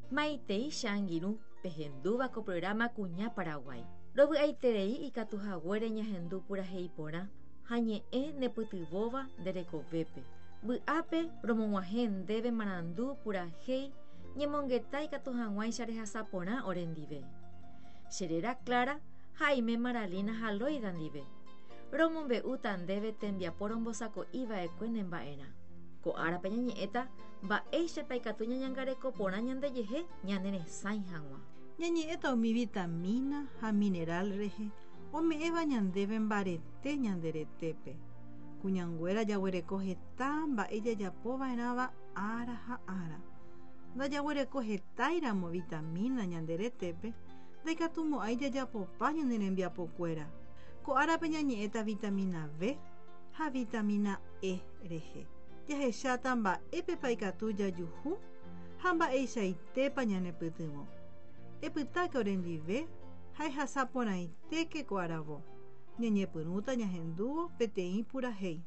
Maitei che angirũ pehendúva ko programa Kuña Paraguái. Rovy'aiterei ikatu haguére ñahendu purahéi porã ha ñe'ẽ nepytyvõva nde rekovépe. Vy'ápe romog̃uahẽ ndéve marandu purahéi ñemongeta ikatu hag̃uáicha rehasa porã orendive. Che réra Clara ha aime Maralina ha Loida ndive. Romombe'úta ndéve tembiapo rombosako'iva'ekue nemba'erã. Ko árape ñañe'ẽta Mba'éichapa ikatu ñañangareko porã ñandejehe ñane resãi hag̃ua. Ñañe'ẽta umi vitamína ha mineral rehe ome'ẽva ñandéve mbarete ñande retépe. Kuñanguéra jaguereko heta mba'e jajapova'erãva ára ha ára. Ndajaguereko hetáiramo vitamína ñande retépe, ndaikatumo'ãi jajapopa ñane rembiapokuéra. Ko árape ñañe'ẽta vitamína B ha vitamína E rehe. Jahecháta mba'épepa ikatu jajuhu ha mba'eichaitépa ñanepytyvõ. Epytáke orendive ha ehasa porãitéke ko aravo. Ñañepyrũta ñahendúvo peteĩ purahéi.